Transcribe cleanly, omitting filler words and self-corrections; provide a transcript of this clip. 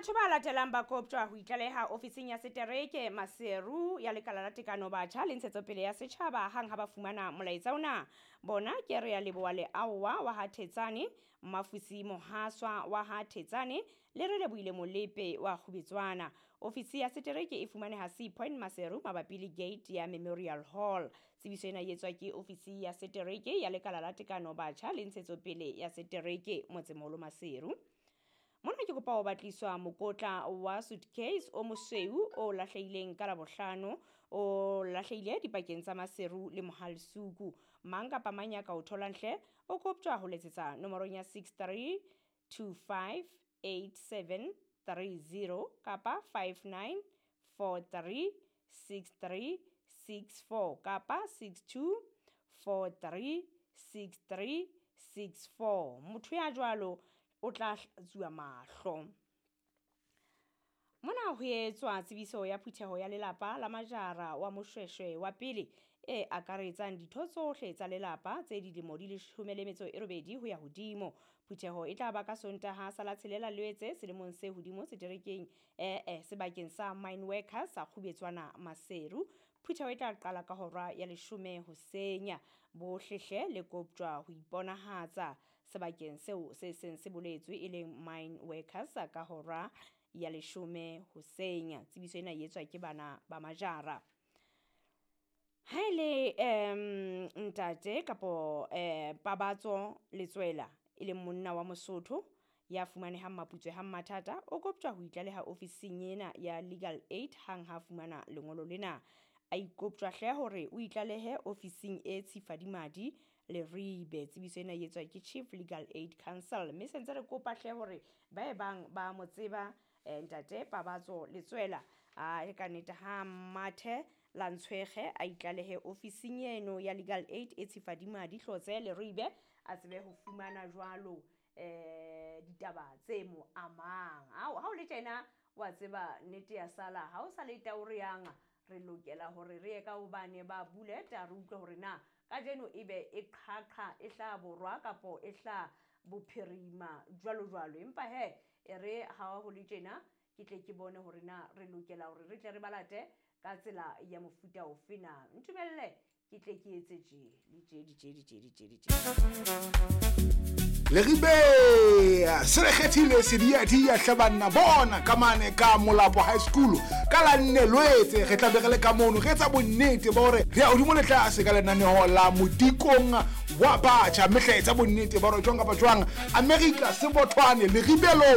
Batho ba latelang ba koptjwa ho itlaleha ofising ya setereke Maseru ya Lekala la Tekano Batjha le Ntshetsopele ya Setjhaba hang ha ba fumana molaetsa ona. Bona ke Rea Leboa Leaowa wa ha Thetsane, Mmafusi Mohaswa wa ha Thetsane le Relebohile Molepe wa Kgubetswana. Ofisi ya setereke e fumaneha Sea Point Maseru mabapi le gate ya Memorial Hall. Tsebiso ena e etswa ke ofisi ya setereke ya Lekala la Tekano Batjha le Ntshetsopele ya Setereke Motsemoholo Maseru. Mona ke kopa ho batliswa mokotla wa suitcase o mosweu o lahlehileng ka Labohlano, o lahlehile dipakeng tsa Maseru le Mohalsuku. Mang kapa mang ya ka o tholang hle o koptjwa ho letsetsa nomorong ya 63258730 kapa 59436364 kapa 62436364. Motho ya jwalo o tla hlatsuwa mahlo. Mona ho etswa tsebiso ya phutheho ya lelapa la Majara wa Moshweshwe wa pele e akaretsang ditho tsohle tsa lelapa tse dilemo di 18 ho ya hodimo. Phutheho e tla ba ka Sontaha sa la 6 Loetse selemong se hodimo seterekeng sebakeng sa Mine Workers sa Kgubetswana Maseru. Phutheho e tla qala ka hora ya 10 hoseng. Bohle hle le koptjwa ho iponahatsa sebakeng seo se seng se boletswe e leng Mine Workers ka hora ya 10 hoseng. Tsebiso ena e etswa ke bana ba Majara. Ha e le ntate kapo Pabatso Letswela e leng monna wa Mosotho ya fumanehang Maputswe ha Mmathata, o koptjwa ho itlaleha ofising ena ya Legal Aid hang ha fumana lengolo lena. A ikoptjwa hle hore o itlalehe ofising e Tshifadimadi Leribe. Tsebiso ena e etswa ke Chief Legal Aid Council. Mme sentse re kopa hle hore ba e bang ba mo tseba ntate Pabatso Letswela a e ka nnete ha mathe la ntshwege a itlalehe ofising eno ya Legal Aid e Tshifadimadi Hlotse Leribe, a tsebe ho fumana jwalo ditaba tse mo amang. Ha o le tjena wa tseba nnete ya sala, ha o sa le taore yang re lokela hore re ye ka hobane ba buleta re utlwe hore na kajeno ebe e qhaqha e hlaha borwa kapo e hlaha bophirima jwalo jwalo. Empa he e re ha ho le tjena ke tle ke bone hore na re lokela hore re tle re balate ka tsela ya mofuta ofe na. Ntumelle ke tle ke etse tje le tje di tje di tje di tje di tje. Leribe se re kgethile sediadia hle banna bona ka mane ka Molapo High School ka la nne Loetse. Re tla be re le ka mono re etsa bonnete ba hore re ya hodimo le tlase ka lenaneo la modikong wa batjha, mme hle etsa bonnete ba hore jwang kapa jwang America Sebothwane Leribelo.